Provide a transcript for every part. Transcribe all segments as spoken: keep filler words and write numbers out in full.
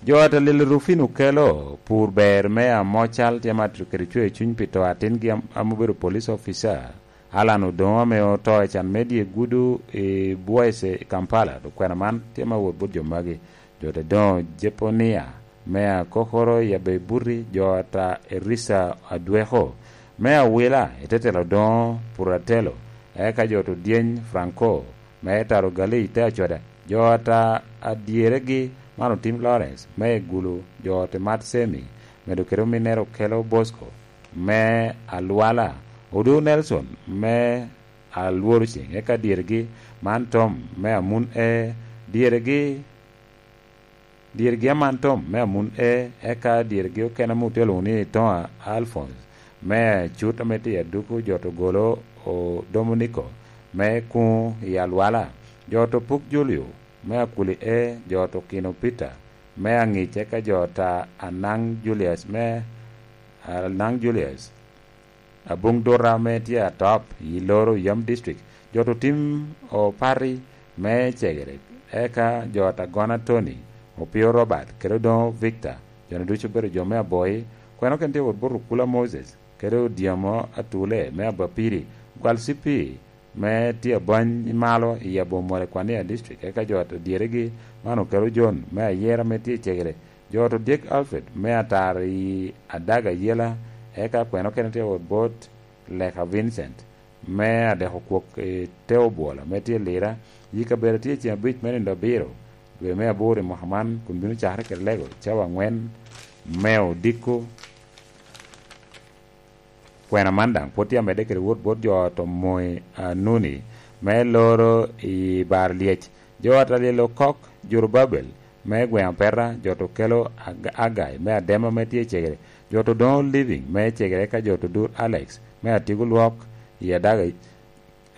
Jo a Talil Rufin okelo pur ber me Amocal tye ma kede cwer cuny pi to atingi am- ame obedo police officer, Alan Odongo, ame oto i can me dye gudo i Bwaise i Kampala. Dok kwena man tye ma wot bot jo magi. Jo te doŋo Jeponia me Akokoro i Abebuti, jo ata Erisa Adweko me Awila, i te telo doŋo Puratelo, eka jo to Dyeny Franco me Taro Gali te Acoda, jo ata adyeregi man otim Lawrence me Gulu, jo te Mat Semi, medo kede ominnere Okelo Bosco me Alwala, Odu Nelson me Alworo Ceng, eka dyeregi man Tom me Amun E, dyeregi dyeregi aman Tom me Amun E, eka dyeregi okene ame otye lwoŋo ni Toŋa Alphonse me Acut ame tye i Aduku, jo to Golo o Dominiko me Kuŋ i Alwala, jo to Puk Julio me Akuli E, jo to Kino Peter me Aŋic, eka jo ta Anaŋ Julius me Anaŋ Julius Abuŋ Dura ame tye Atop i Loro Yam District, jo to Tim Opati me Cegere, eka jo ta Gona Tony, Opio Robert, kede Odoŋo Victor, jo-ni ducu obedo jo me Aboi. Kwena okene tye wot bot Okula Moses, kede Odyamo Atule me Abapiri, Gwal C P me tye abany i malo i Abomole Kwania District, eka jo a dyeregi man okelo John me Ayera ame tye i Cegere, jo to Dyek Alfred me Atar i Adaga Yela, eka kwena okene tye wot bot Leka Vincent me Adeko Kwok i Te Obwola me tye Lira, yi kabedo tye ceng abic me nino abiro dwe me aboro i mwaka man, kun bino cakere kede lego cawa angwen me odiko. Kwena man daŋ pwod tye amedde kede wot bot jo a to Moi Anuni me Loro i Bar Lyec, jo a ta Lyel Okok, Jorubabel me gweŋ Apeta, jo to Kelo Ag- Agai me Adema me tye Cegere, jo to Doŋo Living me Cegere, eka jo to Dur Alex me Atigo Lwok i Adaga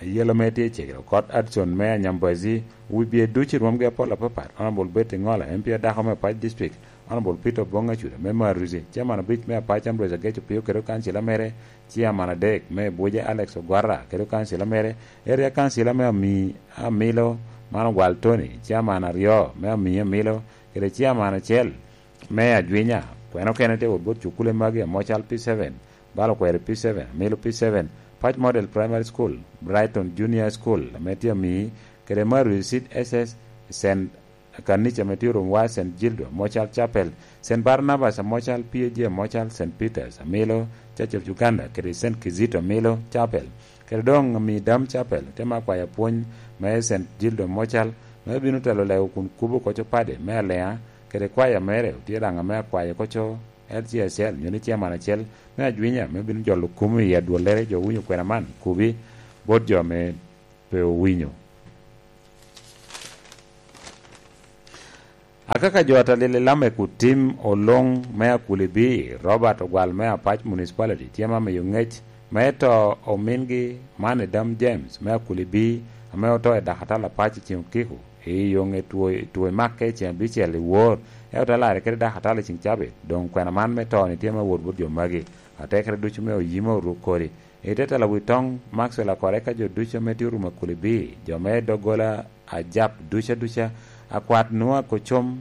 Ayela me tye Cegere, Okot Adson me Anyambazi, wi bye ducu i rwomgi apol apapat, Honorable Betty Ngola, M P adako me Apac District, Honorable Peter Obong Acuda me Maruzi, Chairman abic me Apac Ambrose Ageco Pio kede okancila mere, Chairman adek me Abuja Alex Ogwara kede okancila mere, Area Councilor me Ami Amilo man Ogwal Tony, Chairman aryo me Ami Amilo kede Chairman acel me Ajwinya. Kwena okene tye wot bot cukule magi, Amocal P seven, Balo Kweri P seven, Amilo P seven, Pac Model Primary School, Brighton Junior School ame tye Ami, kede Maruzi Seed S S, Saint Kanica ame tye Rumwa, Saint Gildo Amocal Chapel, Saint Barnabas Amocal, P A G Amocal, Saint Peters Amilo, Church of Uganda, kede Saint Kizito Amilo Chapel, kede doŋ Ami Dam Chapel. Te ma kwaya pwony me Saint Gildo Amocal, me bino telo lego kun kubo koco pade me Alea, kede kwaya mere otye daŋ ame akwayo koco L C S L, nyo ni chairman acel me Ajwinya, me bino jolo kum i adwollere jo owinyo kwena man, kubi bot jo ame pe owinyo. Akaka jo a Talil i Lamek otim Oloŋ me Akulibi, Robert Ogwal me Apac Municipality tye ma miyo ŋec me to omingi man i Dam James me Akulibi, ame oto i Dakatal Apac i ceng okiko i yoŋe two, two i makke i ceng abicel i wor, ento te larre kede Dakatal i ceng cabit. Doŋ kwena man me to-ni tye ma wot bot jo magi, atekere ducu me oyima oruk kodi. I te telo wi toŋ, Maxwell Akore ka jo ducu ame tye orumo Akulibi, jo me doggola Ajap duca duca, akwat Nua Kocom,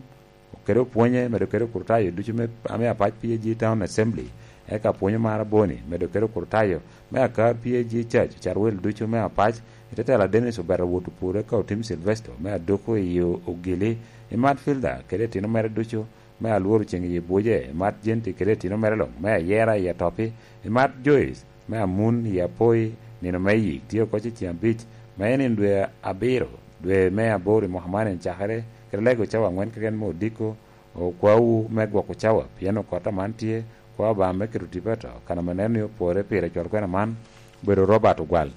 kede opwonye, medo kede okrutayo ducu me, ame Apac P A G Town Assembly, eka pwonyo mar Aboni, medo kede okrutayo me Akar P A G Church, ocarwil ducu me Apac, i te tela Dennis Obeta Wot Opur, eka Otim Silvesto me Adoko i Ogili, i Matfilda kede etino mere ducu me Alworo Ceng i Buje, i Mat Jenti kede etino mere luŋ me Ayera i Atopi, i Mat Joyce me Amun i Apoi, nino me yik tye oko cecen abic, me nino dwe abiro, dwe me aboro i mwaka man en cakere, kede lego cawa angwen keken me odiko, okwawu me gwoko cawa, pien okot aman tye, kwa Obaŋa me keto tipo ato, kan ame neno ni opore pire cwal kwena man, obedo Robert Ogwal.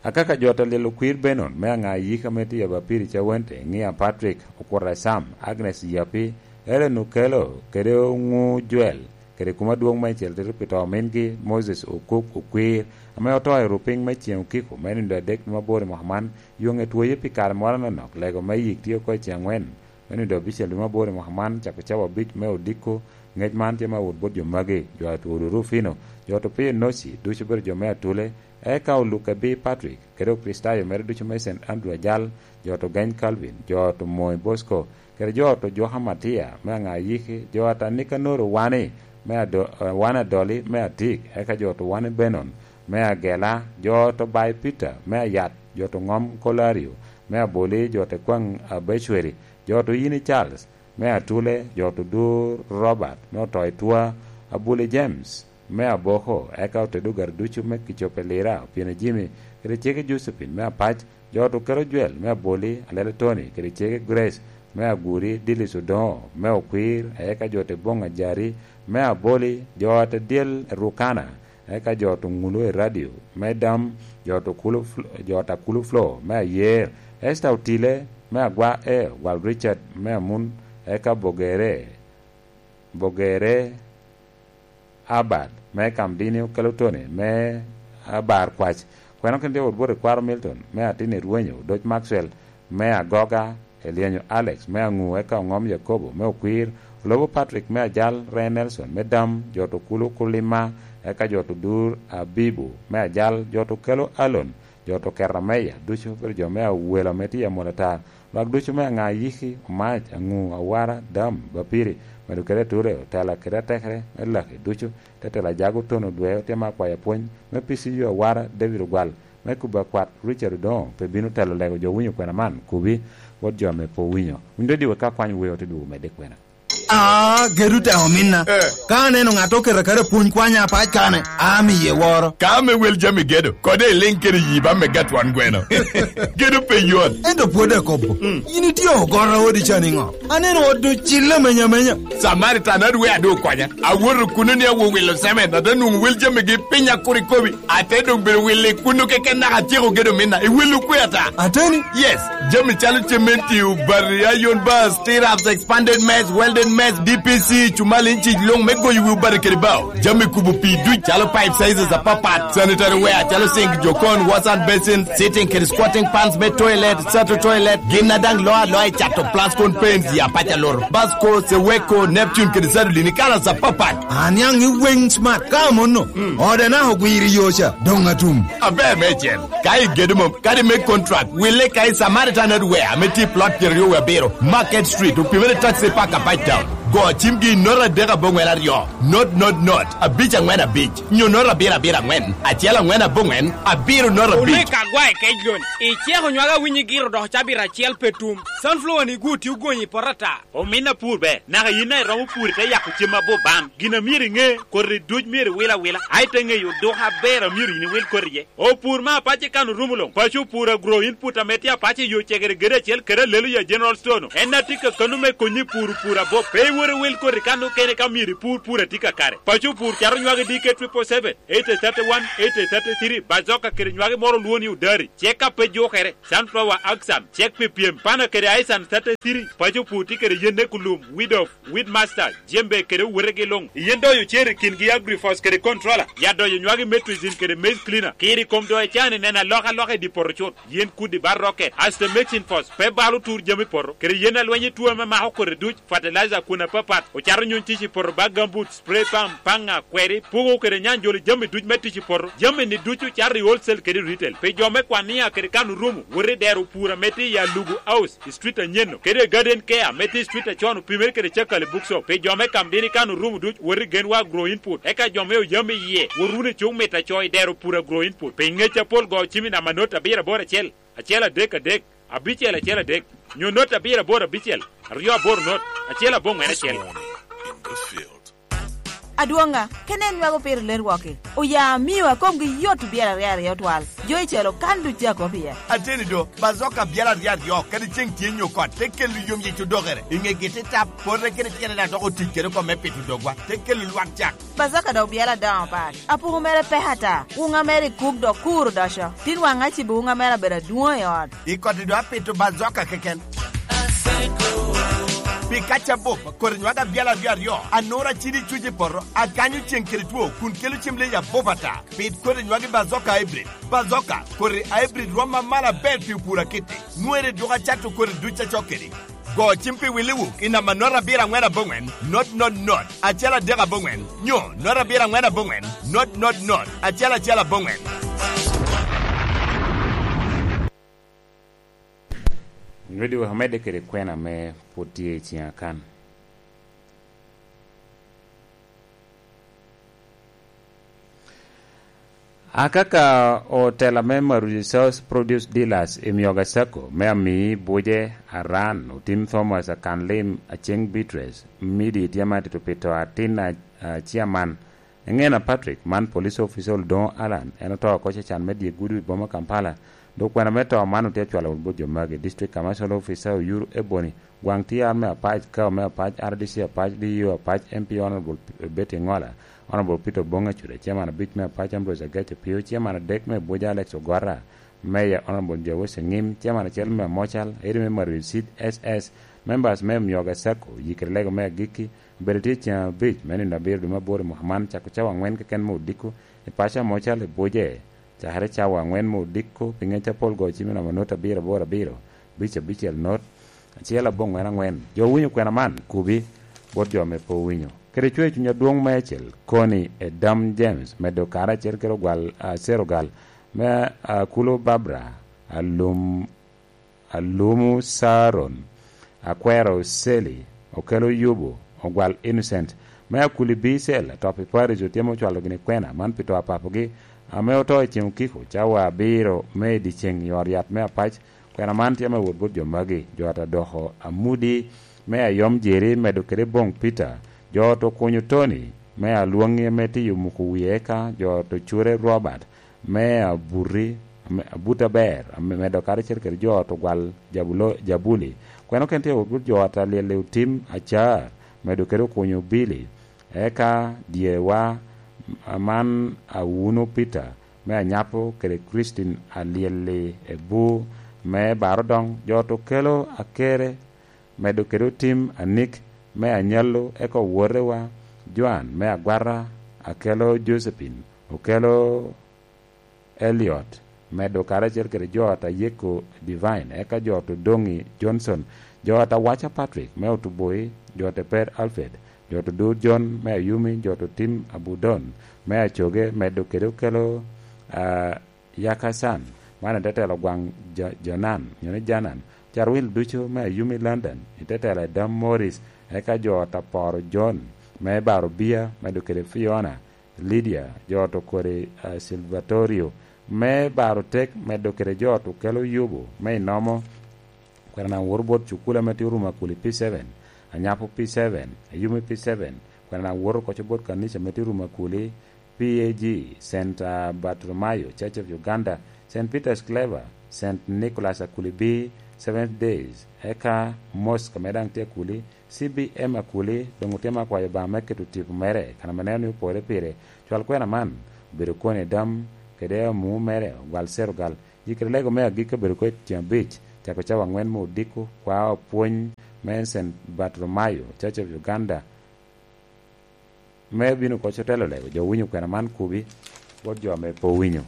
Akaka jo a Talil Okwir Benon me aŋa yika me tye Abapiri Cawente, Ŋia Patrick, Okuta Sam, Agnes Yapi, Ellen Okelo, kede Oŋu Joel, kede kuma dwong meicel tito pi to omingi Moses Okuk Okwir, ame oto i rupiny me ceng okiko me nino adek dwe mabor i mwaka man, yoŋe twoye pi kare moro anonok, lego me yik tye oko i ceng angwen me nino abicel dwe mabor i mwaka man, cako cawa abic me odiko, Ngec man tye ma owot bot jo magi, jo a Tudu Rufino, jo a Topio Noci, ducu obedo jo me Atule, eka Oluke B. Patrick, kede Okricitayo mere ducu me Saint Andrew Ajal, jo a Togeny Calvin, jo a Tomoi Bosco, kede jo a Tojwaka Matia me Aŋayiki, jo a Tanikanoro Wani me Ado-, eh, Wani Adoli me Atik, eka jo a Towani Benon me Agela, jo a Tobai Peter me Ayat, jo a Toŋom Kolario me Aboli, jo a Tekwaŋ Abecweri, jo a Toyini Charles me Atule, jo a Todur Robert me Otoitwa, Abuli James me Aboko, eka otedo ogati ducu me Kicope Lira, Opieno Jimmy, kede cege Josephine me Apac, jo a Tokelo Jwel me Aboli, Alele Tony, kede cege Grace me Aguri, Dilis Odoŋo me Okwir, eka jo a Teboŋ Ajari me Aboli, jo a Tedyel Rukana, eka jo a Tuŋulu i Radio me Dam, jo a Tukulu Fl-, jo a Takulu Flo me Ayer, Esther Otile me Agwa E, Wal Richard me Amun, eka Bogere, Bogere Abad me Kamdini, Okelo Tony me Abar Kwac, kweno kin tye wot bot i Kwaro Milton me Atin i Rwenyo, Odoc Maxwell me Agoga, Elyenyo Alex me Aŋu, eka Oŋom Yakobo me Okwir, Olobo Patrick me Ajal, Reye Nelson me Dam, jo a Tukulu Kulima, eka jo a Tudur Abibu me Ajal, jo a Tukelo Alon, jo a Toketa Meya, ducu obedo jo me Awelo ame tye i Amol Atar, lwak ducu me Aŋayiki, Omac, Aŋu, Awara, Dam, Bapiri, medo kede Ature, otela kede atekere me Laki ducu, te tela Ajago Tono Dwe, otye ma akwayo apwony me P C U Awara, David Ogwal, me kubo akwat Richard Odoŋo pe bino telo lego jo winyo kwena man, kubi bot jo ame pe owinyo. Winy dodiwe ka kwany weo te dwogo medde kwena. Ah, gedo te ominna. Eh. Ka aneno ŋat oketo aketa pwony kwanya apac kane, amiye woro. Ka ame wel jami gedo, kode iliŋ kede yi ba me gatwan gweno. Gedo pe yot. Ento pwod akobo. Mm. In itye ogoro odi ca niŋo? Aneno ot ocille amenya amenya. Samaritan adwe adu okwanya. Awoto kuno ni awo wilo cement, ate nwoŋo wel jamigi piny akur ikobi. Ate doŋ bedo wilo i kuno keken naka atyeko gedo minna. I welo kwe ata? Ateni? Yes. Jami calo cementi, obati, iron bars, T-raps, expanded mess, welded mess, D P C, cumal inci luŋ me goyo wi obati kede bao. Jami kubo pii duc calo pipe sizes apapat, sanitary ware calo sink, jokon, wash and basin, sitting kede squatting pans me toilet, sato toilet, gin a daŋ loo aloa i cato Plascon paints ya paca loro, Basco, Seweko, Neptune kede Sadolin i kalas apapat. Aniaŋ i weng smart ka amono. Mm. Ode naka ogwiro i yo ca, doŋ atum. Aber meicel. Ka igedo mom, kadi me contract, wille ka i Samaritan Hardware ame tye i plot pyeraryo wie abiro, Market Street, opimere taxi park apac town. Go cimgi i note adek aboŋwen aryo, note, note, note, abic aŋwen abic, nyo note abiro abiro aŋwen, acel aŋwen aboŋwen, abiro note abic. Olwek agwa i kec lon, iceko nywage awinyi giro dok cabit acel pe tum. Sunflower ni gwo tye ogonyi i poto ata. Omin apur ber, naka yin a iromo pur ite yako cem abup bam. Gin a myero iŋe, koti duc myero iwil awila, a ite ŋeyo oduka aber a myero yin iwil koti iye. Opur me apac i kan orumo luŋ, paco opur agro input ame tye apac i yo cegere gedo acel kede alelo ya General Store-nu. En a tye kakano me konyi i pur opur abup. Pe iwot iwil koti kan okene ka myero ipur pur a tye kakare. Paco opur cato nywagi D K triple seven, eight thirty-one, eight thirty-three, bazoka kede nywagi moro olwo ni odari, cek a pe jukere. Sunflower, Axan, cek pi pyem, pana kede Aisan thirty-three, paco pur tye kede yen ne kulum, weed off, weed master, jembe kede owetegi luŋ. Yen doyo cer i kingi agrifos kede controller, ya doyo nywagi metrizin kede maize cleaner. Kiri kom doyo can i neno alokaloka i di poto cut. Yen kudi bar rocket, asto mexin fos, pe balo tur jami poto, kede yen alweny i tuo ame mako kodi duc, fertilizer kun apapat, ocato nyuny tic i poto bag gambut, spray pump, paŋa, kweri, pugo kede nyanjolo jami duc me tic i poto. Jami-ni ducu cato i wholesale kede retail. Pi jo me Kwania kede kan orumo, wot i dero pur ame tye i Alugu House, i street anyen-nu, kede i Garden Care ame tye i street acon opimere kede Cakali Bookshop. Pi jo me Kamdini kan orumo duc, wot i Genwa Agro Input. Eka jo me Oyam iye, wot wunu i cuk mit aco i dero pur Agro Input. Pi ngec apol go cim i namba not abiro aboro acel, acel adek adek, abicel acel adek, nyo not abiro aboro abicel, aryo aboro not, acel aboŋwen acel. Adwoŋa, kene en nywako piro ler wok-ki. Oya amio a komgi yot obyelo aryo aryo twal. Jo i celo kan duc a kop iye. Ateni do, bazoka obyelo aryo aryo, kadi ceŋ tye nyo kot, te kelo yom yic odokere. I ŋegi te tap, pote kede tyene daŋ dok otic kede oko me pito dogwa, te kelo lwak cak. Bazoka dok obyelo adoŋo pat. Apuku mere pek ata. Wuŋa mere i kuk dok kur odoco. Tin waŋ acibo wuŋa mere abedo adwoŋ i ot. I koti do apito bazoka keken. Pi kac abup, koti nywagi abyel aryo aryo, anura cidi cuc i poto, akanyo ceŋ kede two, kun kelo cem leyi abup ata. Pit koti nywagi bazoka hybrid. Bazoka, koti hybrid rom amalo aber pi opur akitti. Nwere dwogo acato koti duc acok kedi. Go cim pi Williwood i namba not abiro aŋwen aboŋwen, not not not, acel adek aboŋwen, nyo not abiro aŋwen aboŋwen, not not not, acel acel aboŋwen. Nyweddi wek omedde kede kwena ame pwod tye i ciŋa kan. Akaka otela me Maruti South Produce Dealers i Myoga Sacco me Amii Buje Aran, otim Thomas Akanlim, Aceng Beatrice, Midi tye ma tito pi to atin a, a, Chairman Eŋena Patrick, man police officer Oldoŋo Allan, en oto oko Cacan me dye gudo i boma Kampala. Dok kwena me to man otye acwalo wot bot jo magi, District Commercial Officer Oyuru Ebony, Gwaŋ T R me Apac, Kao me Apac, R D C Apac, D E O Apac, M P Honorable Betty Ŋola, Honorable Peter Oboŋ Acuda, Chairman abic me Apac, Ambrose Agac Opio, Chairman adek me Abuja, Alex Ogwara, Mayor Honorable Jawes Eŋim, Chairman acel me Amocal, Eri me Maril Seed S S, members me Myoga Sacco, yikere lego me agikki, obedo tye ceŋ abic me nino abiro dwe me aboro i mwaka man, cako cawa aŋwen keken me odiko, i paco Amocal i Buje, cakere cawa aŋwen me odiko, pi ŋec apol go cim i namba not abiro aboro abiro, abic abicel not, acel aboŋwen aŋwen. Jo owinyo kwena man, kubi, bot jo ame pe owinyo. Kede cwer cuny adwoŋ meicel, koni Edam James, medo kare acel kede ogwal, a, Serogal, me, a, Kulo Barbara, Alum, Alumu Saron, Akwero Seli, Okelo Yubu, Ogwal Innocent, me Akuli Bicel, atop i Paris, otye me ocwalo gini kwena man pi to a papogi, ame oto i ceng okiko, cawa abiro me i dyeceŋ i ot yat me Apac, Kwena man tye me wot bot jo magi, jo ata doko Amudi me Ayom Jeri medo kede Boŋ Peter, jo ata Okunyo Tony me Alwoŋi ame tiyo muko wie eka, jo ata Ocure Robert me Abuti, ame, Abuti Aber, ame medo karacel kede jo ata Ogwal Jabulo-, Jabuli. Kwena okene tye wot bot jo ata Lyelle Otim Acar medo kede Okunyo Billy. Eka dyewa man Awuno Peter me Anyapo kede Christine Alyelli Ebu me Barodoŋ, jo ata Okelo Akere, medo kede Otim Anik me Anyallo, eka owotewa Joan me Agwata, Akelo Josephine, Okelo Elliot, medo karacel kede jo ata Yeko Divine, eka jo ata Odoŋi Johnson, jo ata Waca Patrick me Otuboi, jo ata Per Alfred, jo ata Odur John me Ayumi, jo ata Otim Abudon me Acoge, medo kede Okelo, a, Yakasan, man i te telo gwaŋ Ja-, Jonan, nyo ni Janan, Carwil ducu me Ayumi London, i te telo Edam Morris, eka jo ata Poro John me Baro Bia, medo kede Fiona, Lydia, jo ata Okori, a, Silvatorio, me Baro Tek, medo kede jo ata Okelo Yubu, me Inomo, kwena na woro bot cukul ame tye Rumakuli P seven, Anyapo P seven, Ayumi P seven, kwena na woro koco bot kanica ame tye Rumakuli, P A G, Saint, a, Bartolomayo, Church of Uganda, Saint Peter's Clever, Saint Nicholas Akuli B, Seventh Days, eka Mosque ame daŋ tye Akuli, C B M Akuli doŋ otye me akwayo Obaŋa me keto tipo mere, kan ame neno ni opore pire. Cwal kwena man obedo kwone Edam kede amu mere, Ogwal Serogal. Yikere lego me agikki obedo kede ceŋ abic, cako cawa aŋwen me odiko, kwao pwony me Saint Bartolomayo, Church of Uganda, me bino koc otelo lego. Jo owinyo kwena man kubi, bot jo ame pe owinyo.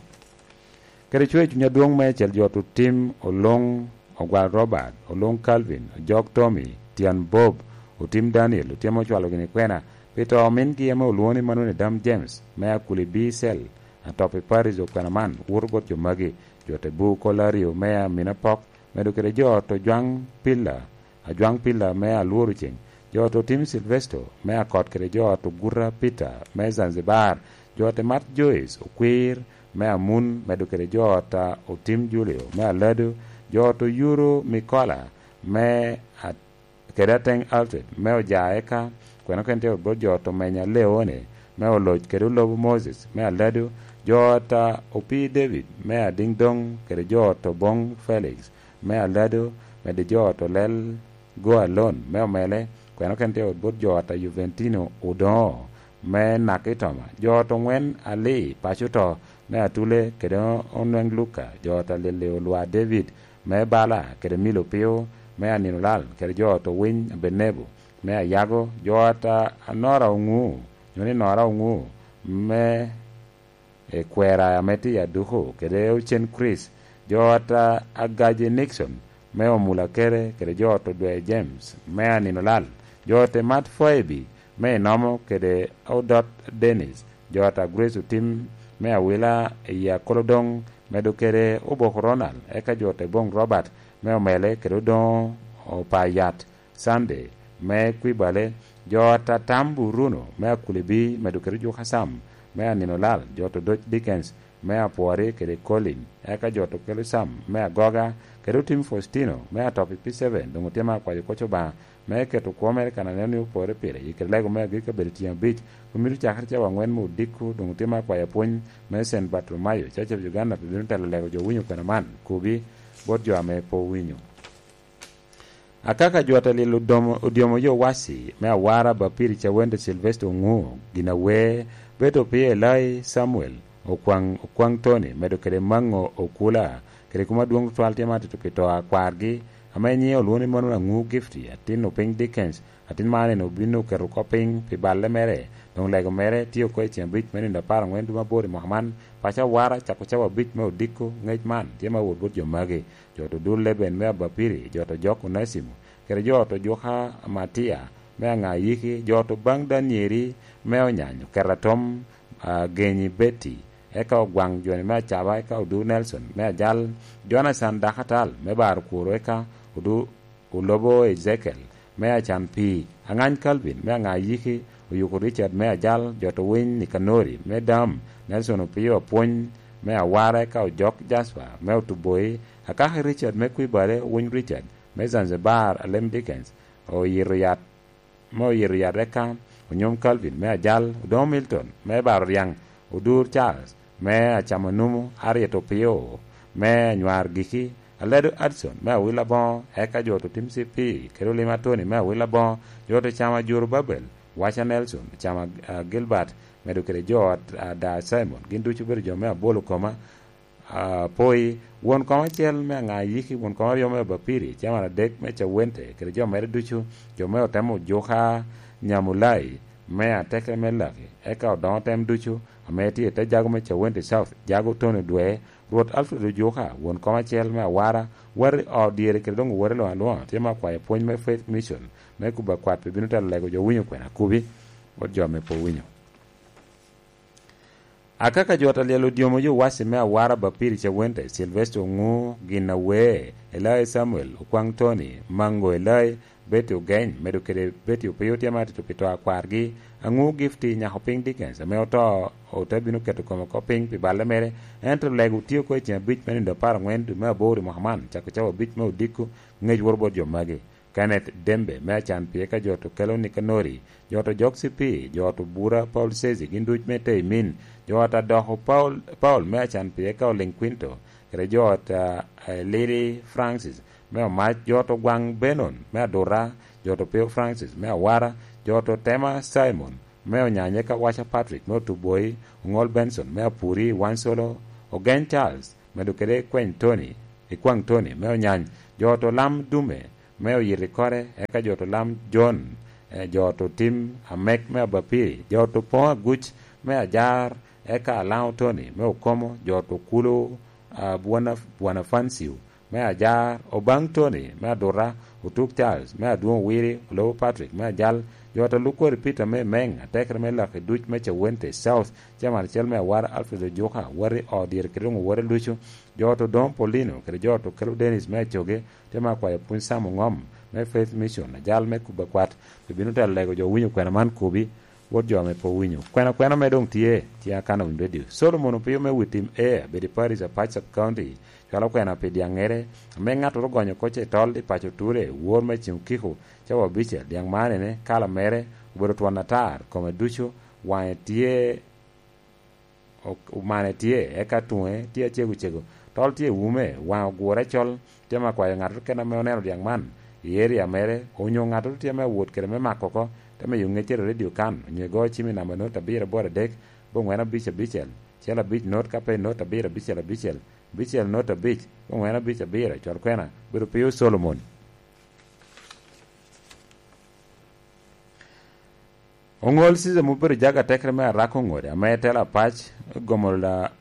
Kede cwer cuny adwoŋ meicel jo ata Otim Oloŋ, Ogwal Robert, Oloŋ Calvin, Ojok Tommy, Tyen Bob, Otim Daniel, otye me ocwalo gini kwena pi to omingi ame olwoŋo ni Manuel Edam James, me Akuli B Cell, atop i Paris. Okwena man woto bot jo magi, jo ata Ebu Kolario me Aminapok, medo kede jo ata Ojwaŋ Pilla, Ajwaŋ Pilla me Alworo Ceŋ, jo ata Otim Silvesto me Akot kede jo ata Oguta Peter me Zanzibar, jo ata Mat Joyce Okwir me Amun, medo kede jo ata Otim Julio me Alado, jo ata Oyuro Mikola me At-, kede Ateŋ Alfred me Oja, eka kwena okene tye bot jo ata Omenya Leone me Oloc kede Olobo Moses me Alado, jo ata Opii David me Adiŋdoŋ kede jo ata Oboŋ Felix me Alado, medo jo ata Olel Go Alon me Omele, kwena okene tye bot jo ata Juventino Odoŋo me Nakitoma, jo ata Oŋwen Ali Paco To me Atule kede Onweŋ Luka, jo ata Lili Olwa David me Bala kede Milo Pio me Aninolal, kede jo ata Owiny Abenebo me Ayago, jo ata Anora Oŋu, nyo ni Nora Oŋu me i kwera ame tye i Aduku, kede Ocen Chris, jo ata Agaji Nixon, me Omulakere kede jo ot Odwe James me Aninolal, jo ot Mat Foebi me Inomo kede Odot Dennis, jo ot Grace Otim me Awila i Akolodoŋ, medo kede Obok Ronald, eka jo ot Ebong Robert me Omele kede Odoŋo Opayat Sunday me Kwibale, jo ot Atam Buruno me Akulibi, medo kede Juka Sam me Aninolal, jo ot Odoc Dickens me Apwori kede Colin, eka jo ot Okelo Sam me Agoga, kede Otim Faustino me Atopi P seven, doŋ otye me akwayo koc Obaŋa me keto kwo mere kan aneno ni opore pire, i kede lego me agikki abedo tyen abic, kun mito cakere cawa aŋwen me odiko, doŋ otye me akwayo apwony me Saint Bartolomayo, Church of Uganda, pe bino telo lego jo winyo kwena man, kobi bot jo ame pe owinyo. Akaka jo ot Alyel Odomo-, Odyomo yo Wasi me Awara, Bapiri Cawende, Sylvester Oŋu, Ginawer, Beto Pie, Elai Samuel, Okwaŋ, Okwaŋ Tony, medo kede Maŋo Okula, kede kuma dwoŋ tutwal tye ma atito pi to a kwargi, ame nyiŋe olwoŋo ni Manuel Aŋu Gifty, atin Opiny Dickens, atin man en obin oketo oko piny pi balle mere, doŋ lego mere tye oko i ceng abic me nino apar aŋwen dwe me aboro i mwaka man. Paco Awara cako cawa abic me odiko ŋec man tye ma wot bot jo magi. Jo ot Odul Leben me Abapiri, jo ot Ojok Onacimo, kede jo ot Ojuka Matia me Aŋayiki, jo ot Obaŋ Danieri me Onyany, Okeratom, ah, Genyi Betty, eka Ogwaŋ Joni me Acaba, eka Odu Nelson me Ajal, Jonathan Dakatal me Baro Kworo, eka Odu Olobo Ezekiel me Acan Pii, Aŋany Calvin me Aŋayiki, Oyuko Richard me Ajal, jo ot Owiny Nikanori me Dam, Nelson Opio Apwony me Awara, eka Ojok Jasper me Otuboi, Akaka Richard me Kwibale, Owiny Richard me Zanzibar, Alem Dickens, oyito yat, me oyito yat, eka Onyom Calvin me Ajal, Odoŋo Milton me Baro Ryaŋ, Odur Charles me Acamo Numu, Harriet Opio me Anywar Giki, Aledo Addison me Awil Aboŋo, eka jo ot Otim C P kede Olima Tony me Awil Aboŋo, jo ot Ocamo Ajuru Babel, Waca Nelson, Ocamo, ah, Gilbert, medo kede jo ot, ah, Da Simon, gin ducu obedo jo me abolo koma, ah, poi, won kom acel me Aŋayiki, won kom aryo me Abapiri, caman adek me Cawente, kede jo mere ducu, jo me Otemo Ojuka Nyamulai, me Atekere me Laki, eka Odoŋo Tem ducu, ame tye i te jago me Cawente South, jago Tony Odwe, Rwot Alfred Ojuka, won kom acel me Awara, wati ot dyere kede doŋ wati luŋ aluŋa, tye me akwayo pwony me Faith Mission, me kubo akwat pe bino telo lego jo winyo kwena kubi, bot jo ame pe owinyo. Akaka jo ot Alyel Odyomo yo Wasi me Awara, Bapiri Cawente, Sylvester Oŋu, Ginawer, Elai Samuel, Okwaŋ Tony, Maŋo Elai, Betty Ogeny, medo kede Betty Opio tye ma atito pi to a kwargi, Aŋu Gifty, Nyako Piny Dickens, ame oto, ote bino keto kome oko piny pi balle mere, ento lego tye oko i ceng abic me nino apar aŋwen dwe me aboro i mwaka man, cako cawa abic me odiko, ŋec woro bot jo magi. Kenneth Dembe me Acan Pii, eka jo ot Okelo Nikanori, jo ot Ojok C P, jo ot Obura Paul Sezi, gin duc me Teimin, jo ot Adoko Paul, Paul me Acan Pii, eka Oliŋ Quinto, kede jo ot, ah, eh, Lili Francis me Omac, jo ot Ogwaŋ Benon me Adura, jo ot Opeo Francis me Awara, jo ot Otema Simon me Onyany, eka Waca Patrick me Otuboi, Oŋol Benson me Apuri, Wansolo, Ogeny Charles, medo kede Kweny Tony, Ikwaŋ Tony me Onyany, jo ot Olam Dume me Oyito Ikore, eka jo ot Olam John, eh, jo ot Otim Amek me Abapiri, jo ot Opoŋo Aguc me Ajar, eka Alaŋo Tony me Okomo, jo ot Okulo, ah, Bwana, Bwana Fanciu me Ajar, Obaŋ Tony me Aduta, Otuk Charles me Adwoŋ Owiri, Olobo Patrick me Ajal, jo ot Alukwori Peter me Meŋ, atekere me Laki duc me Cawente South, Chairman acel me Awara Alfred Ojuka, wati ot dyere kede doŋ owote lucu, jo ot Odoŋo Paulino kede jo ot Okelo Dennis me Acoge, tye me akwayo Pwony Sam Oŋom me Faith Mission, ajal me kubo akwat, pe bino telo lego jo winyo kwena man kobi, bot jo ame pe owinyo. Kwena kwena me doŋ tye, tye Akana Winy Radio. Solomon Opio me Witim Air, bedo i Paris, Apac Sub County, cwalo kwena pi dyaŋŋere, ame ŋattoro ogonyo kocce i tol i paco Ture, wor me Ceng Okiko, cawa abicel, dyaŋ man ene, kala mere, obedo twon atar, kome ducu, waŋe tye, ok-, omane tye, eka tuŋe tye acego cego, tol tye i wume, waŋe ogure col, tye me akwayo ŋattoro kene ame oneno dyaŋ man i area mere, onyo ŋattoro tye me awot kede me mako oko, te miyo ŋeccere i radio kan, onyo igo cim i namba not abiro aboro adek, boŋwen abic abicel, cel abic not, ka pe not abiro abicel abicel, abicel not abic, boŋwen abic abiro, col kwena, bedo pio Solomon. Oŋol Caesar ma obedo jaga atekere me Arako Ŋode, ame telo apac, Gomola,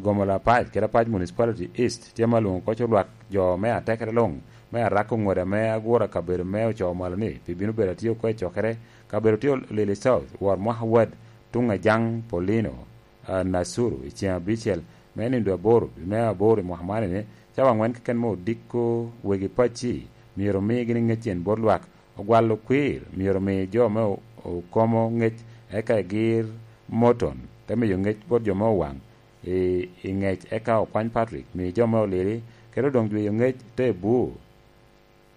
Gomola Apac, kede Apac Municipality East, tye ma lwoŋo koc olwak jo me atekere luŋ, me arako ŋode ame agura kabedo me ocoo malo ni pi bino bedo atye oko i cokere. Kabedo tye Lili South, wot mwaka wad, tuŋ Ajaŋ Paulino, a, Nasuru, i ceŋ abicel me nino aboro me aboro i mwaka man ni, cawa aŋwen keken me odiko wegi pacci myero omi gini ŋeccen bot lwak, ogwalo kwir myero omi jo me o-, okomo ŋec, eka egir Morton, te miyo ŋec bot jo me owaŋ i, i ŋec, eka okwany Patrick, mi jo me olili, kede odoŋ jweyo ŋec te bur.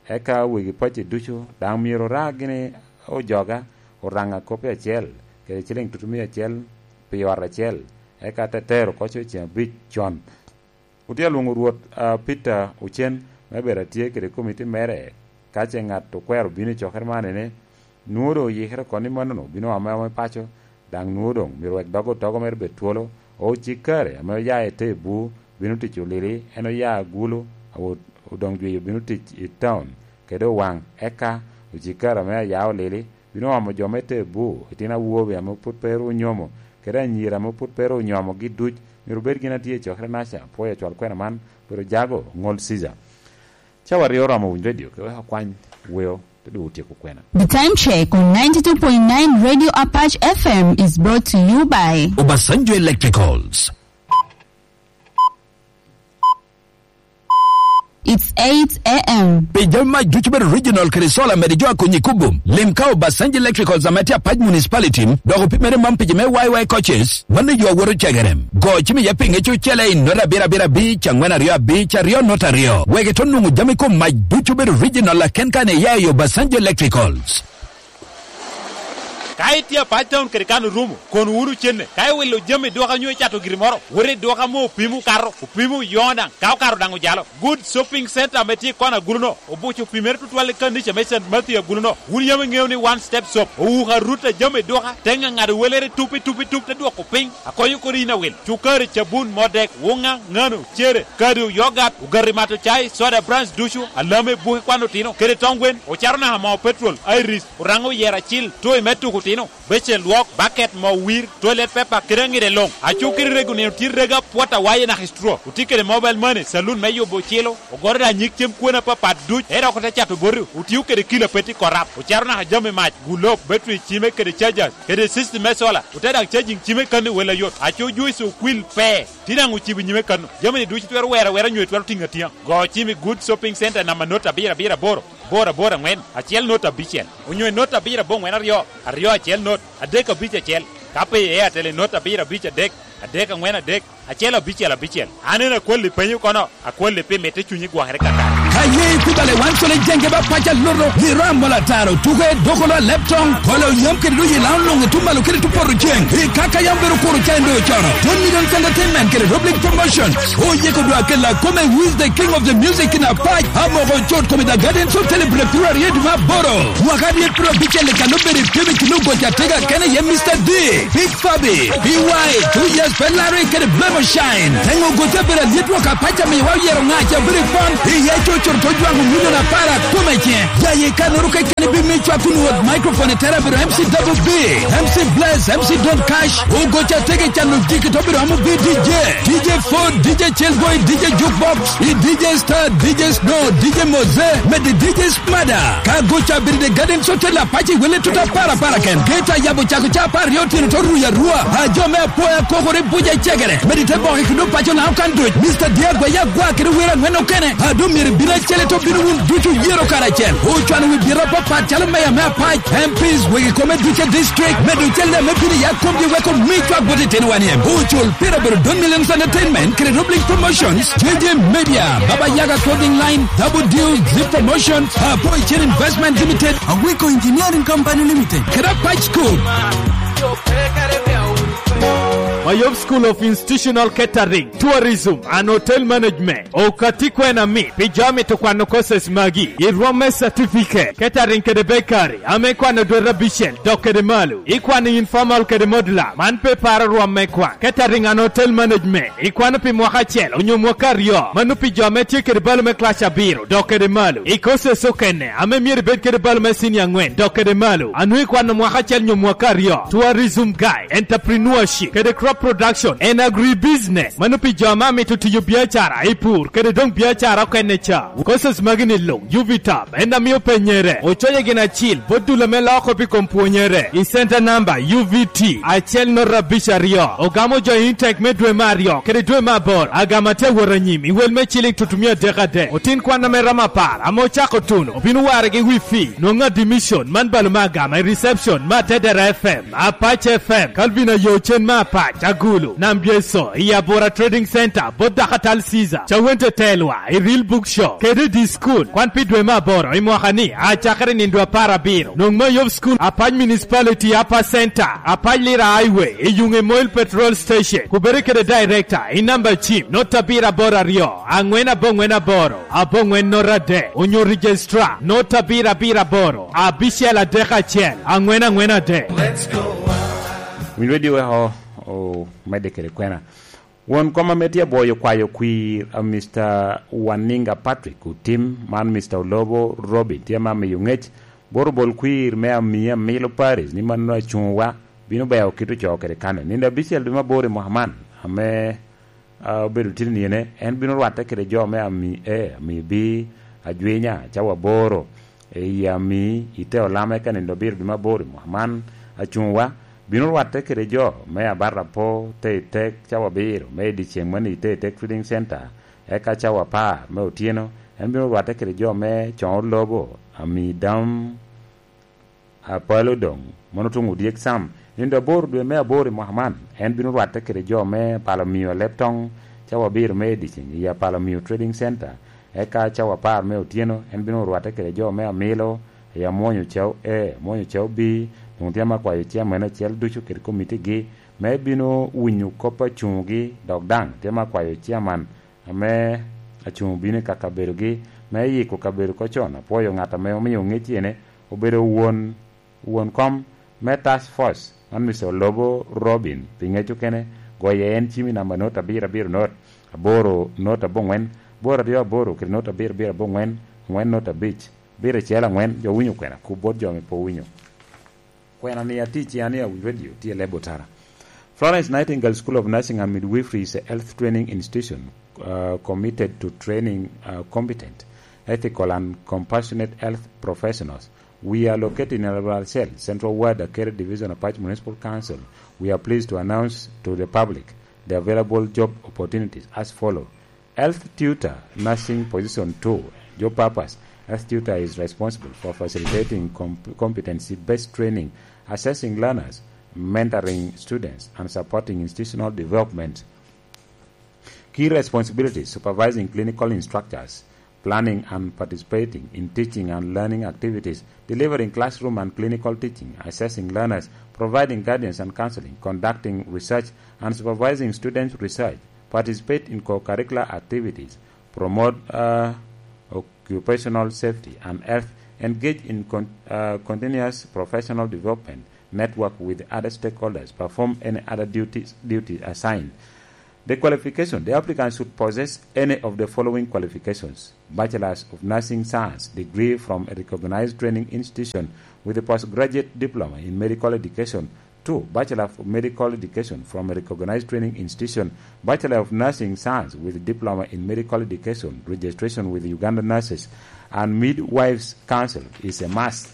Eka wegi pacci ducu daŋ myero oraa gini ojoga, oraŋa kop acel, kede ciliŋ tutumia acel pi ot acel, eka te tero oko i ceŋ abic con. Otye alwoŋo Rwot, a, Peter Ocen me bedo atye kede komiti mere. Ka ce ŋat okwero bino i cokere man, ene, nwoŋo doŋ oyikere oko ni mannono bino oame aoma i paco, daŋ nwoŋo doŋ myero wek dog otogo mere bed twolo. Ocikare ame oya i te bur bino tic olili, en oya agulu, awo-, odoŋ jwio bino tic i taun kede owaŋ, eka ocikare ame aya olili bino omo jo me te bur, itino awobe ame pwod pe ru onyomo, kede anyira ame pwod pe ru onyomogi duc, myero obed gin atye i cokere naca. Apwoyo acwal kwena man, pero jago ŋol Caesar. Cawa aryo oromo winy redio, ke wek akwany weo, te doŋ otyeko kwena. The time check on ninety-two point nine Radio Apache F M is brought to you by Obasanjo Electricals. It's eight a m. Pi jami mac ducu bedo original kede solar, mede jo a konyi kubum. Lim ka Obasanjo Electricals ame tye Apac Municipality, dok opimere man pi jo me Y Y coaches, mano yo awoto cegerem. Go cim iye pinge cucele i nota abiro abiro abic, angwen aryo abic, aryo nota aryo. Wek ito nwoŋo jami kom mac ducu bedo original aken kan iya i Obasanjo Electricals. Ka itye Apac Town kede kan orumo, kono wunu cenne. Ka iwilo jami i duka nyo icato giri moro, wot i duka ame opimo okato, opimo oyoŋo daŋ, ka okato daŋ ojalo. Good Shopping Center ame tye i kona agulu-no, obuco opimere tutwal i kanica me Saint Matthew agulu-no. Wun yam iŋeo ni One Step Shop owuko arut a jami i duka, te ŋaŋado welere tup i tup i tup, te dwoko piny. Akonyo kodi yin awil. Cukari, cabun, modek, wuŋa, ŋano, cere, kado, yogat, ogati mato cai, soda, brands ducu, alame, buke kwan otino, kede tong gwen, ocato naka moo petrol, Iris, Oraŋo oyero acil, toy me tuko otino, becen lwok, baket, moo wir, toilet paper, kede aŋide luŋ. Aco kede rego nino tye rego apwot awaye naka i straw. Otye kede mobile money, saloon me yubo ocilo, ogoro daŋ nyig cem kwena apapat duc, ento oko te cato boti, otio kede kilo a pe tye korap. Ocato naka jami mac, gulok, battery cime kede chargers, kede system me solar, ote daŋ charging cime kan i wel ayot. Aco juice okwil pe, tye daŋ ocibo nyime kan. Jami-ni ducu twero wero awera nyo itwero tiŋo atiŋa. Go cim i Good Shopping Center namba not abiro abiro aboro, aboro aboro aŋwen, acel not abicel, onyo i not abiro aboŋwen aryo, aryo acel not, adek abic acel. Ka pe i Airtel i not abiro abic adek, adek aŋwen adek, acel abicel abicel. An en akwalli penyo kono, akwalli pi mitte cunyi gwokere kakare. Ka ye ikubale wan cole jenge ba paca loto, i ram mola taro, tuke, dokolo a leptong, kolo yam kede doji laŋo luŋ i tum malo kede tum poto ceng. I kaka yam bedo kuro ca en doŋ ocono. Don Millions Entertainment kede Rob Link Promotions. Oyeko dwa kela kome Who is the King of the Music in Apac, amoko cot kome The Gardens Hotel i Bulek piru aryo i dwe me aboro. Mwaka aryo piru abicel i kano bedo i Phoenix, Lugoc Atega kene iye Mister D, Big Fabi, B Y, Two Years Pen Larry kede Blemo Shine. Teŋo gote bedo alyet wok Apac amiwa oyero ŋaca bedo i pon, iye cucur to jwaŋo milion apar akome ce. Ya ye kanoro keken ibimiyo cwak kun wot microphone i tere bedo M C Double B, M C Bless, M C Don Cash, Ogoca Tege Calo Jiki to bedo amo B D J, D J Ford, D J Chillboy, D J Jukebox, i D J Star, D J Snow, D J Moze, mede D J Mada. Ka goca bedo i Garden Hotel Apac iwele tuta para para ken. Geta yabo cako ca apar aryo otyeno to ruyo arua. A jo me apoya kokore buca cegere. Mede te boke kede opaco na okan duc. Mister Diagwa ya gwa kede wero aŋwen okene. A doŋ myero ibin acel to bino wun ducu yero karacel. Ocwano wi biro apapat calo meya me Apac, M Ps, wegi kome duce district. Medo cel me bino ya komgi weko mi cwak bot itino wan iem. Ocul pira bedo Don Millions Entertainment, kede Rob Link Promotions, J J Media, Baba Yaga Clothing Line, Double Deal, Zip Promotions, Apo Chen Investment Limited, Awiko Engineering Company Limited, kede Apac School. Mayom School of Institutional Catering, Tourism and Hotel Management. Okati kwena mi, pi jo amito kwano courses magi, i rwom me certificate, catering kede bakery, ame kwano dwete abicel, dok kede malo. Ikwano informal kede modular, man pe paro rwom me kwan. Catering and Hotel Management, ikwano pi mwaka acel onyo mwaka aryo, mano pi jo ame tye kede balo me class abiro, dok kede malo. I courses okene, ame myero ibed kede balo me senior angwen, dok kede malo, a nwoŋo ikwano mwaka acel nyo mwaka aryo, tourism guide, entrepreneurship, kede crop Production en agribusiness. Mano pi jo ame amito tiyo biacara i pur kede doŋ biacara okene ca. Courses magi ni luŋ, Uvitap en amio penyere. Ocoye gin acil bot dul ame loko pi kom pwonyere. I center number U V T acel nota abic aryo. Ogamo jo i intek me dwe me aryo kede dwe me aboro. Agama tye awot anyim i wel me ciling tutumia adek adek. Otin kwan ame romo apar ame ocako tuno obino warre gi wifi. Nwoŋo admission man balo me agama i reception me Atedera F M. Apac F M, Calvin Ayo Cen me Apac, Agulu, Nam Byeco, i Abura Trading Center, bot Dakatal Caesar, Cawente Telwa, i Real Book Shop, kede i School. Kwan pi dwe me aboro i mwaka ni, acakere nindo apar abiro. Nwoŋo me Yov School, Apac Municipality, Upper Center, Apac Lira Highway, i Yuŋe Moil Petrol Station, kubere kede Director, i namba cim, nota abiro aboro aryo, aŋwen aboŋwen aboro. Aboŋwen nota adek, onyo Registrar, nota abiro abiro aboro, abicel adek acel, aŋwen aŋwen adek. Winy Radio weko omedde kede kwena. Won kom ame tye aboyo kwayo kwir, a, Mister Waninga Patrick Otim, man Mister Olobo Robin, tye ame amiyo ŋec, bot obol kwir me Amia Amilo Paris, ni mano acuŋwa, bino beo kit ocoo kede kane. Nindo abicel dwe me aboro i mwaka man, ame a, obedo tye niene, en bino rwatte kede jo me Ami A, Ami B, Ajwinya, cawa aboro, i Ami, i te Olama, eka nindo abiro dwe me aboro i mwaka man, acuŋwa, bino rwatte kede jo me Abarapo, te i tek, cawa abiro, me i dyeceŋ mani i te i tek Trading Center, eka cawa apar me otyeno, en bino rwatte kede jo me Coŋo Lobo, Ami Dam, Apalo doŋ, mano tuŋ odyek sam, nindo aboro dwe me aboro i mwaka man, en bino rwatte kede jo me Apalo Mio Aleb Toŋ, cawa abiro me ediceŋ i Apalo Mio Trading Center, eka cawa apar me otyeno, en bino rwatte kede jo me Amilo, i Amwonyo Cao A, Amwonyo Cao B, doŋ tye ame akwayo ciaman acel ducu kede komitigi, me bino winyo kop acuŋogi, dok daŋ tye ame akwayo ciaman ame acuŋ obino i ka kabedogi me yiko kabedo oko con. Apwoyo ŋat ame omio ŋec ene obedo won, won kom me Task Force man, Mister Olobo Robin, pi ŋec okene, goye en cim i namba not abiro abiro not aboro not aboŋwen, aboro aryo aboro kede not abiro abiro aboŋwen, aŋwen not abic, abiro acel aŋwen. Jo winyo kwena, kub bot jo ame pe owinyo. Kwena ni atic i Ania Wi Radio, tye i Lebo Tara. Florence Nightingale School of Nursing and Midwifery is a health training institution, uh, committed to training, uh, competent, ethical and compassionate health professionals. We are located in Albarcel, Central Ward, Akere Division, Apac Municipal Council. We are pleased to announce to the public the available job opportunities as follow. Health tutor nursing position two, job purpose. Health tutor is responsible for facilitating comp-, competency-based training, assessing learners, mentoring students, and supporting institutional development. Key responsibilities: supervising clinical instructors, planning and participating in teaching and learning activities, delivering classroom and clinical teaching, assessing learners, providing guidance and counseling, conducting research, and supervising students' research, participate in co-curricular activities, promote, uh, occupational safety and health, engage in con-, uh, continuous professional development, network with other stakeholders, perform any other duties, duty assigned. The qualification: the applicant should possess any of the following qualifications: Bachelor's of Nursing Science degree from a recognized training institution with a postgraduate diploma in medical education. Two, Bachelor of Medical Education from a recognized training institution, Bachelor of Nursing Science with diploma in medical education, registration with Uganda Nurses and Midwives Council is a must.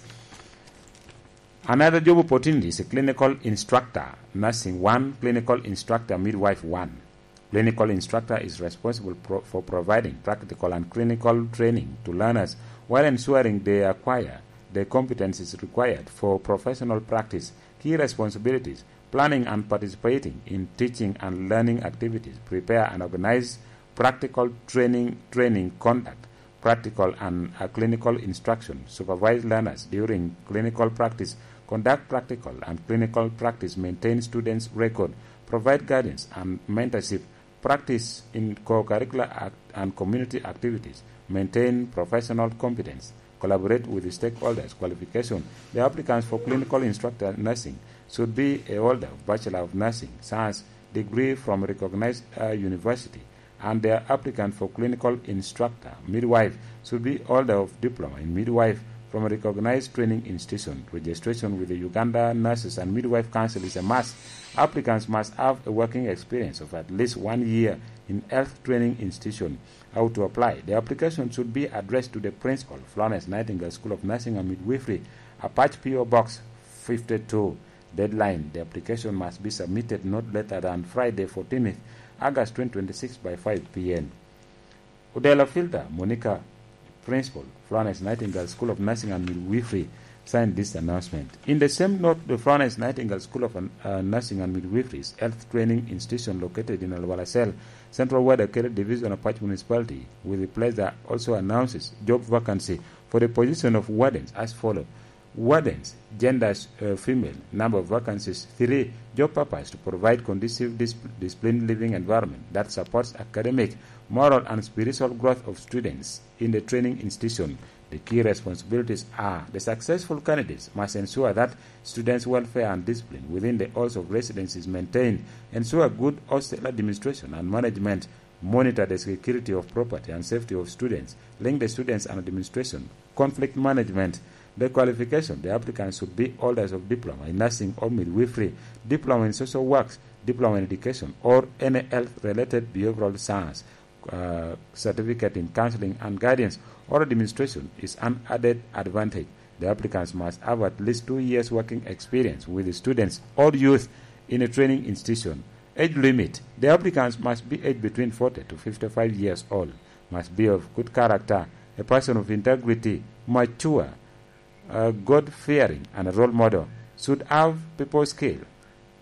Another job opportunity is a clinical instructor, nursing one, clinical instructor, midwife one. Clinical instructor is responsible pro-, for providing practical and clinical training to learners while ensuring they acquire the competencies required for professional practice. Key responsibilities: planning and participating in teaching and learning activities, prepare and organize practical training, training conduct, practical and, uh, clinical instruction, supervise learners during clinical practice, conduct practical and clinical practice, maintain students' record, provide guidance and mentorship, practice in co-curricular act-, and community activities, maintain professional competence, collaborate with the stakeholders. Qualification: the applicants for clinical instructor nursing should be a holder of Bachelor of Nursing Science degree from a recognized, uh, university, and the applicant for clinical instructor midwife should be holder of diploma in midwife from a recognized training institution. Registration with the Uganda Nurses and Midwife Council is a must. Applicants must have a working experience of at least one year in health training institution. How to apply? The application should be addressed to the principal, Florence Nightingale School of Nursing and Midwifery, Apac P O Box fifty-two. Deadline: the application must be submitted not later than Friday, fourteenth August twenty twenty-six, by five p.m. Odela Filter Monica, Principal, Florence Nightingale School of Nursing and Midwifery, signed this announcement. In the same note, the Florence Nightingale School of, uh, Nursing and Midwifery's Health Training Institution, located in Alwala Cell, Central Ward, Akere Division of Apac Municipality, with pleasure also announces job vacancy for the position of wardens as follow. Wardens, genders, uh, female, number of vacancies, three, job purpose: to provide conducive dis-, disciplined living environment that supports academic, moral, and spiritual growth of students in the training institution. The key responsibilities are: the successful candidates must ensure that students' welfare and discipline within the halls of residence is maintained, ensure good hostel administration and management, monitor the security of property and safety of students, link the students and administration, conflict management. The qualification: the applicants should be holders of diploma in nursing or midwifery, diploma in social works, diploma in education, or any health-related behavioral science. Uh, certificate in counseling and guidance or administration is an added advantage. The applicants must have at least two years working experience with the students or youth in a training institution. Age limit: the applicants must be aged between forty to fifty-five years old, must be of good character, a person of integrity, mature, uh, God-fearing, and a role model, should have people skill,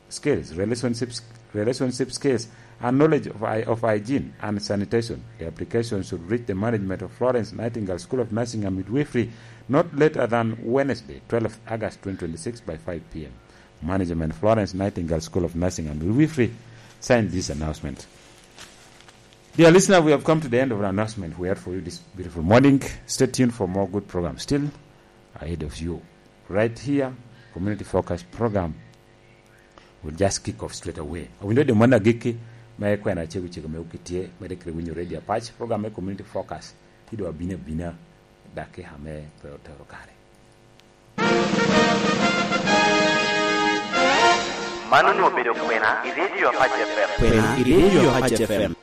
skills, relationships, relationship skills, and knowledge of hy-, of hygiene and sanitation. The application should reach the management of Florence Nightingale School of Nursing and Midwifery not later than Wednesday, twelfth August twenty twenty-six, by five p.m. Management, Florence Nightingale School of Nursing and Midwifery, signed this announcement. Dear listener, we have come to the end of our announcement we had for you this beautiful morning. Stay tuned for more good programs still ahead of you. Right here, Community Focus program will just kick off straight away. Awinyo de mano agikki me kwena cego cego me okitye, me de kede winyo Radio Apac, program me Community Focus, ti do abina abina, dakika me tero, tero kare. Mano onwoŋo obedo kwena i Radio Apac F M. Kwena i Radio Apac F M.